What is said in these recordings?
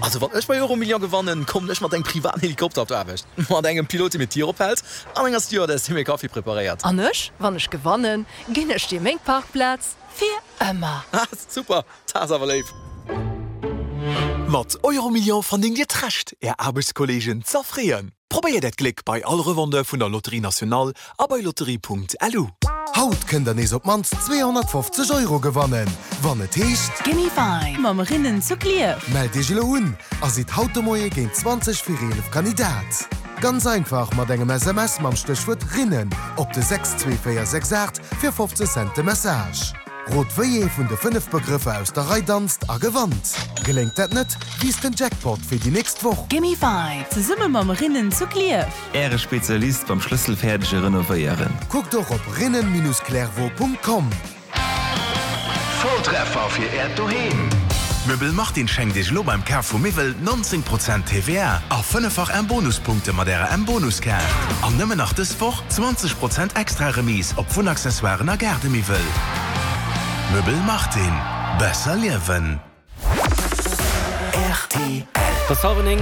Also wann ech bei Euromillion gewannen, kommen ech mat engem privaten Helikopter op d'Aarbecht, mat engem Pilot dee mir d'Dier ophält an enger Stewardess déi mir Kaffi preparéiert. An ech, wann ech gewannen, ginn ech dir meng Parkplaz fir ëmmer. Ah super, dat ass awer léif. Mat Euromillion verdéngt Dir d'Recht Är Aarbechtskolleegen z'erfreeën. Probéiert Äert Gléck bei all Revendeur vun der Loterie Nationale a bei lotterie.lu. Haut kënnt der nees op d'mannst 250 Euro gewannen, wann et heescht. Gimme Five mam Rinnen zu Klierf. Mellt iech elo un a sidd haut de Moie géint 20 vir 11 Kandidat. Ganz einfach mat engem SMS mam Stéchwuert Rinnen op de 62468 fir 50 Cent de Message. Rot wéi ee vun de 5 Begrëffer aus der Rei danzt a gewannt. Geléngt dat net, wiisst den Jackpot fir déi nächst Woch. Gimme Five zesumme mam Rinnen zu Klierf. Äre Spezialist beim schlësselfäerdege Renovéieren. Kuckt och op rinnen-clairvaux.com. Volltreffer fir Äert Doheem! Möbel Martin schenkt Iech elo beim Kaf vu Miwwel 19 Prozent TVA a fënneffach M-Bonuspunkte mat Ärer M-Bonuskaart. An nëmmen nach dës Woch 20 Prozent extra Remise op Wunnaccessoiren a Gaardemiwwel. Möbel Martin, besser liewen! Rtl. Et ass hallwer 9.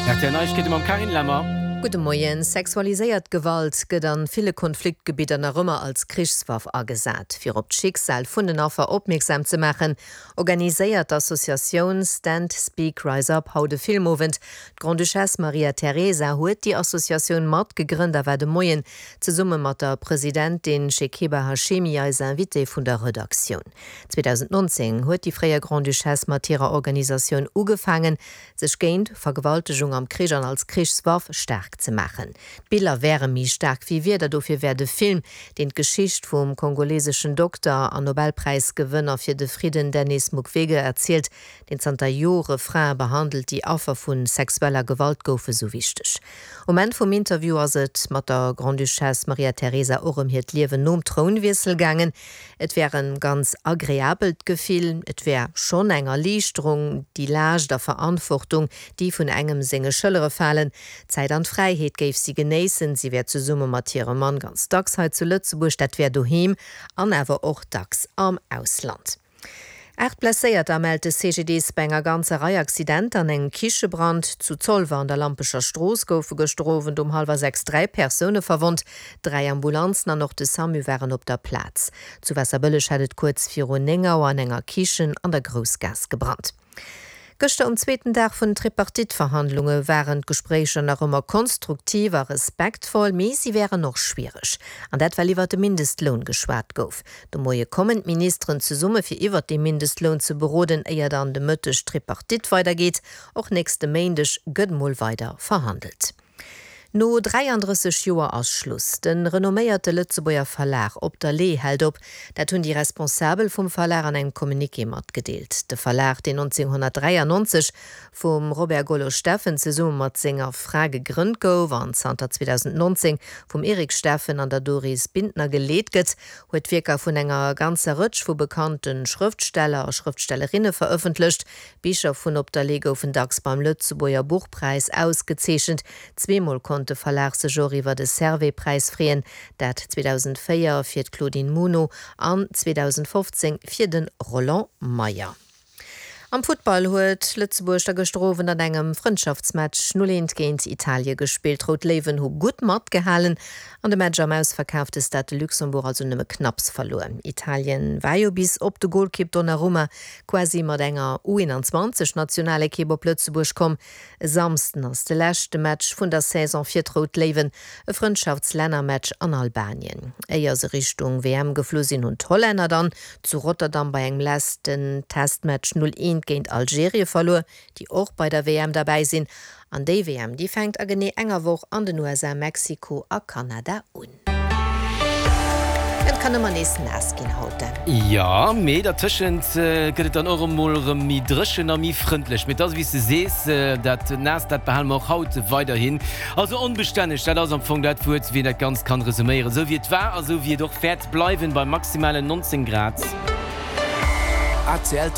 Rtl Neiegkeete mam Carine Lemmer. Gudde Moien. Sexualiséiert Gewalt gëtt an ville Konfliktgebidder nach ëmmer als Krichswaff agesat. Fir op d'Schicksal vun den Affer opmierksam ze maachen, organiséiert d'Associatioun Stand Speak Rise Up haut e Filmowend. D'Grande-Duchesse Maria Teresa huet déi Associatioun mat gegrënnt a war de Moien Zesumme mat der Presidentin Shekiba Hashemi, eis Invitée vun der Redaktioun. 2019 huet déi fréier Grande-Duchesse mat hirer Organisatioun ugefaangen, sech géint Vergewaltegung am Krich an als Krichswaff staark ze maachen. D'Biller wäre méi staark wéi Wierder, dofir wär de Film, deen d'Geschicht vum kongoleseschen Dokter an Nobelpräisgewënner fir de Fridden Denis Mukwege erzielt, deen zanter Jore Frae behandelt, déi Affer vu sexueller Gewalt goufen, sou wichteg. Um Enn vum Interview ass et mat der Grande-Duchesse Maria Teresa och ëm hiert Liewen nom Trounwiessel gaangen. Et wär e ganz agreabelt Gefill, et wär schonn eng Erliichterung, déi Laascht a Verantwortung, déi vun engem senge Schëllere falen. D'Zäit an d'Fräiheet géif si genéissen. Si wär zesumme mat hirem Mann ganz dacks hei zu Lëtzebuerg, dat wär doheem an awer och dacks am Ausland. 8 Blesséierter mellt de CGDIS bei enger ganzer Rei Accidenter an engem Kichebrand. Zu Zolwer an der Lampecher Strooss goufe gëschter Owend um hallwer 6 3 Persoune verwonnt. 3 Ambulanzen an och de Samu waren op der Plaz. Zu Waasserbëlleg hat et kuerz viru 9 Auer an enger Kichen an der Groussgaass gebrannt. Gëschter um zweeten Dag vun den Tripartite-Verhandlunge waren d'Gespréicher nach ëmmer konstruktiv a respektvoll, mee si wären och schwiereg. An dat well iwwert de Mindestloun geschwat gouf. De Moie kommen d'Ministeren zesumme fir iwwert dee Mindestloun ze beroden, éier dann de Mëtteg d'Tripartite weidergeet. Och nächste Méindeg gëtt mol weider verhandelt. No 33 Joer ass Schluss. De renomméierte Lëtzebuerger Verlag Op der Lee hält op. Dat hunn déi Responsabel vum Verlag an engem Communiqué matgedeelt. De Verlag, deen 1993 vum Robert Gollo-Steffen zesumme mat senger Fra gegrënnt gouf an zanter 2019 vum Eric Steffen an der Doris Bintner geleet gëtt, huet Wierker vun enger ganzer Rëtsch vu bekannte Schrëftsteller a Schrëftstellerinne verëffentlecht. Bicher vun Op der Lee goufen dacks beim Lëtzebuerger Buchpräis ausgezeechent. Zweemol konnt de Verlag sech och iwwer e Servais-Präis freeën, dat 2004 fir d'Claudine Muno an 2015 fir de Roland Meyer. Am Futtball huet Lëtzebuerg da gëschter Owend an engem Frëndschaftsmatch 0, 1 géint Italie gespillt. D'Rout Léiwen hu gutt matgehalen an de Match am ausverkaafte Stade de Luxembourg also nëmme knapps verluer. Italien war jo bis op de Golkipp Donnarumma quasi mat enger U21 Nationalekipp op Lëtzebuerg komm. E Samsden ass de leschte Match vun der Saison fir d'Rout Léiwen, e Frëndschaftslännermatch an Albanien. Éier se Richtung WM geflu sinn, hunn d'Hollänner dann zu Rotterdam bei engem leschten Testmatch 0, 1 géint Algerie verluer, déi och bei der WM derbäi sinn. An déi WM, déi fänkt a genee enger Woch an den USA, Mexiko a Kanada un. Et kann ëmmer nees naass ginn haut, Dan. Jo, mee dertëschent gëtt et dann och emol erëm méi dréchen a méi frëndlech. Mee et ass, wéi s de sees, dat Naasst, dat behale mer och haut weiderhin. Also onbestänneg, dat ass am Fong dat Wuert, wéi een dat Ganzt kann resuméieren. Esou wéi et war a sou wéi et och wäert bleiwen, bei maximalen 19 Grad. ACL.